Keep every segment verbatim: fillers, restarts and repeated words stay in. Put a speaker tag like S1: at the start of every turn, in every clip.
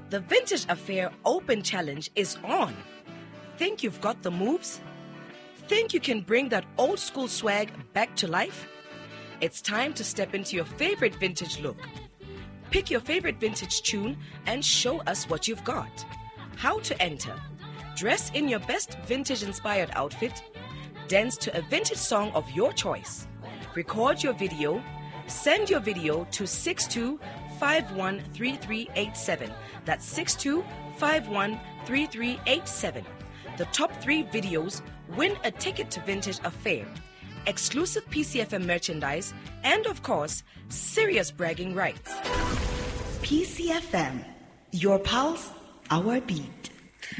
S1: The Vintage Affair Open Challenge is on. Think you've got the moves? Think you can bring that old school swag back to life? It's time to step into your favorite vintage look. Pick your favorite vintage tune and show us what you've got. How to enter? Dress in your best vintage-inspired outfit. Dance to a vintage song of your choice. Record your video. Send your video to six two five one three three eight seven. That's six two five one three three eight seven. The top three videos win a ticket to Vintage Affair, exclusive P C F M merchandise, and of course, serious bragging rights.
S2: P C F M, your pulse, our beat.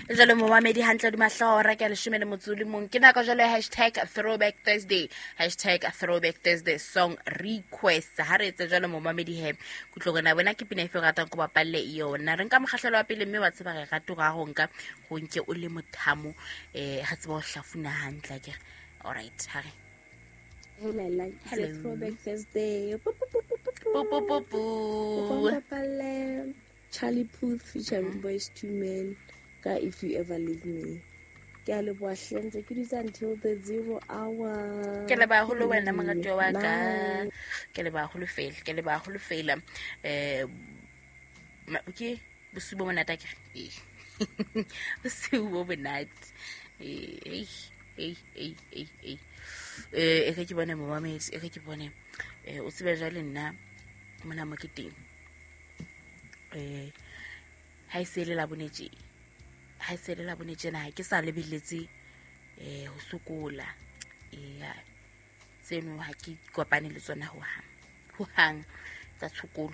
S3: Jalo momamedi hantle di mahlora ke leshome le motso le mong ke nako jalo hashtag throwback Thursday, hashtag throwback Thursday song request. Ha re etse jalo momamedi he kutlo rena wena ke pina efe ratang go bapalle yona re nka mokgahlelo wa pele mme wa tseba re rata go go nka go nke o le mothamo eh ha tseba ho hlafuna hantle ke. All right, ha re
S4: Hey, Laila, it's
S3: Hello.
S4: Throwback Thursday.
S3: Po po po po.
S4: Charlie Puth featuring Boyz two Men. Ka If You Ever Leave Me. Ke a leboha hle, ntse ke dutse until the zero hour.
S3: Ke leboha haholo wena moratuwa wa ka.
S4: Bye.
S3: Ke leboha haholo fela, ke leboha haholo fela. Eh, ma-, ke bosiu bo monate akere? Ee. Bosiu bo monate. Eh, ei, ei, ei, ei, ei. Eh, e re ke bone momamedi, e re ke bone. Eh, o tsebe jwale nna mona mo ke teng. Eh, ha e se le la bone tje. Ha e se le la bone tjena ha ke sa lebelletse, eh, ho sokola. Eh, tseno ha ke kopane le tsona ho hang. Ho hang tsa tshokolo.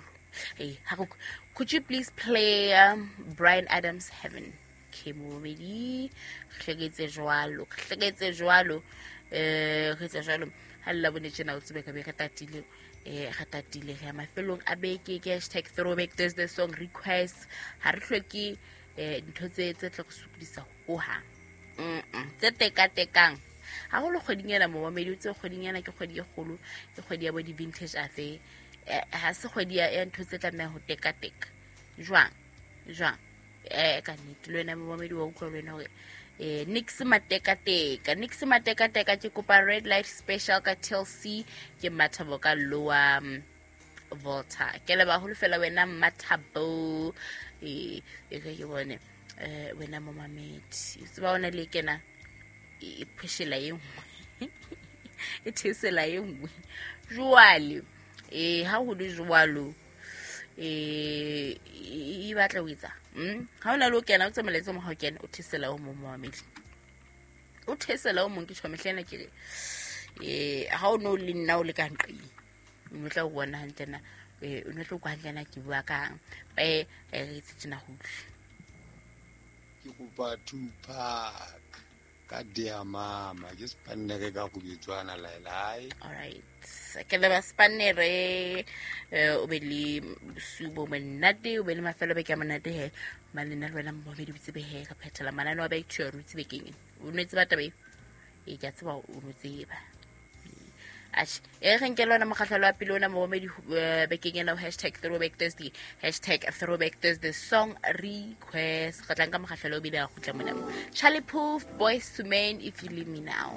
S3: Eh, ha go, could you please play, um, Bryan Adams Heaven? Ke momedi, hleketse jwalo, hleketse jwalo. Eh, re tsa jwalo. Ha le la bone tjena o tsebe ka be re tatile. Eh, re tatile re ya mafelong a beke ke hashtag throwback Thursday song request. Ha re hloke, eh, ntho tse, tse tla re sokodisa ho hang. Mm-mm. Tse tekatekang. Haholo kgweding ena momamedi, o tsebe kgweding ena ke kgwedi e kgolo, ke kgwedi ya bo di-vintage affair. Eh, ha se kgwedi ya, ya ntho tse tlamehang ho tekateka. Jwang? Jwang? Eh, ka nnete, le wena momamedi wa utlwa le wena hore, eh, nix matekateka, nix matekateka, ke kopa red light special ka T L C, ke Mathabo ka Lower, um, Volta. Ke leboha haholo fela wena Mathabo. Eh, e re ke bone, eh, wena momamedi. O tseba ona le kena, e, e pheshela e nngwe. E thesela e nngwe. Jwale, eh, ha ho le jwalo, eh, e, e batla ho etsa. Mm? Ha o na le ho kena, o tsamaeletse mo ha o kena, o thesela o mong momamedi. O thesela o mong, ke tjho mehlena ke re, eh, ha o no le nna o le ka nqeng, o no tla o bona hantle na, eh, o no tla utlwa hantle na ke bua kang. Eh, eh, re itse tjena ho utlwe.
S5: Ke kopa Tupac ka Dear Mama, ke Spanere ka go bitswana Laila.
S3: All right. Ke leba Spanere, eh, o be le bosiu bo monate, o be le mafelo a beke a monate he. Mane nna le wena momamedi o tsebe he, ka phethela mananeo a Back to Your Roots bekeng ena. O no tseba taba eo? Ee, ke a tseba o no tseba. Atjhe, e re nke le ona mokgahlelo wa pele ona momamedi, eh, bekeng ena ho hashtag throwback Thursday, hashtag throwback Thursday song request. Re tla nka mokgahlelo o bile a kgutla mona. Charlie Puth, Boyz two Men, If You Leave Me Now.